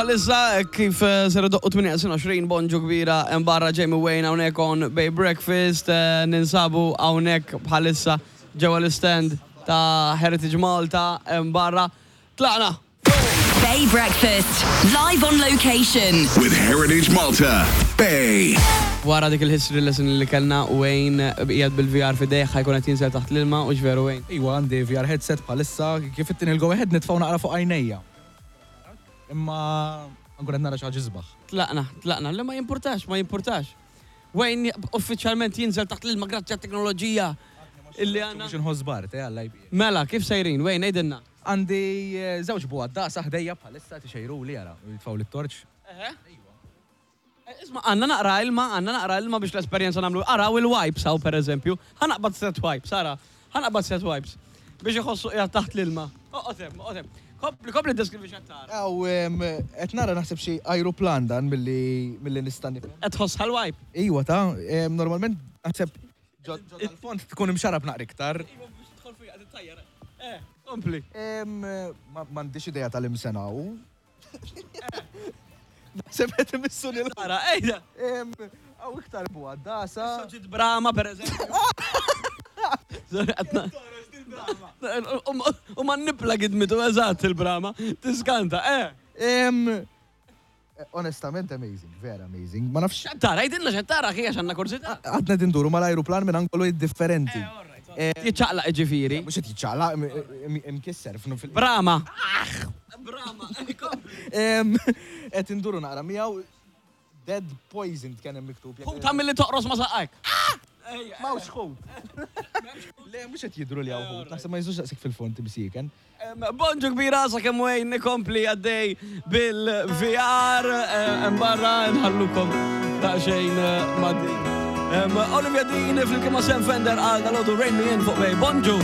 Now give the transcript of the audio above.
Bħalissa kif eh, ser idoqqu 8:20 bonġu kbira hemm barra Jamie Wayne hawnhekk on Bay Breakfast eh, ninsabu hawnhekk bħalissa ġewwa l-istand ta' Heritage Malta hemm barra. Tlaqna! Bay Breakfast, live on location. With Heritage Malta. Bay. Wara dik il-history lesson li kellna Wayne qiegħed bil-VR f'idejh ħa jkun qed jinżel taħt l-ilma u veru Wayne. Iwa għandi VR headset bħalissa kif ittini l-go ahead nitfgħu naqra fuq għajnejja. Imma nkun qed nara xi ħaġa isbaħ. Tlaqna, tlaqna, li ma jimpurtax, ma jimpurtax. Wayne uffiċjalment jinżel taħt l-ilma grazzi għat-teknoloġija illi għandna. Mhux inħoss bart, eh, Alla jbierek. Mela, kif sejrin, Wayne, għidilna. Għandi żewġ bugħaddasa ħdejja bħalissa tixejruli ara, u jitfgħuli t-torċ. Eħe. Isma' għandna naqra ilma, għandna naqra ilma biex l-esperjenza nagħmlu. Araw il-wipes hawn pereżempju. Ħa naqbad set wipes, ara. Ħa naqbad set wipes. Biex iħossu qiegħed taħt l-ilma. Oqgħod hemm, oqgħod hemm. Kompli, kompli ddeskrivi x'qed tara. Hawn qed nara naħseb xi ajruplan dan milli milli nista' nifhem. Qed tħossha l-wipe? Iwa ta, normalment naħseb ġo dal-fond tkun imxarrab naqra iktar. Iwa biex tidħol fiha qed ittajjar. Eh, kompli. M'għandix idea tal-imsena hu. Naħseb qed imissu lil. Ara, ejja. Hawn iktar bugħaddasa. Issa ġiet brama pereżempju. Sorry, qed U ma nipla gidmitu eżatt il-brama. Tiskanta, eh. Onestament amazing, vera amazing. Ma nafx. X'qed tara? Għidilna x'qed tara akhi għax għandna kurżità. Għadna qed induru mal-ajruplan minn angolu differenti. Jiċċaqlaq jiġifieri. Mhux qed jiċċaqlaq, imkisser. Brama. Brama, kompli. Qed induru naqra miegħu. Dead poisoned kien hemm miktub. Ħuta milli toqros ma' saqajk. M'hawnx ħut. Le, mhux qed jidhru li hawn ħut. Naħseb ma jinżlux daqshekk fil-fond imsieken. Bonġu kbira sakemm Wayne ikompli għaddej bil-VR hemm barra nħallukom daqsxejn ma' din. Olivia Dean flimkien ma' Sam Fender għal dal-għodu Rein Me In fuq Bay. Bonġu!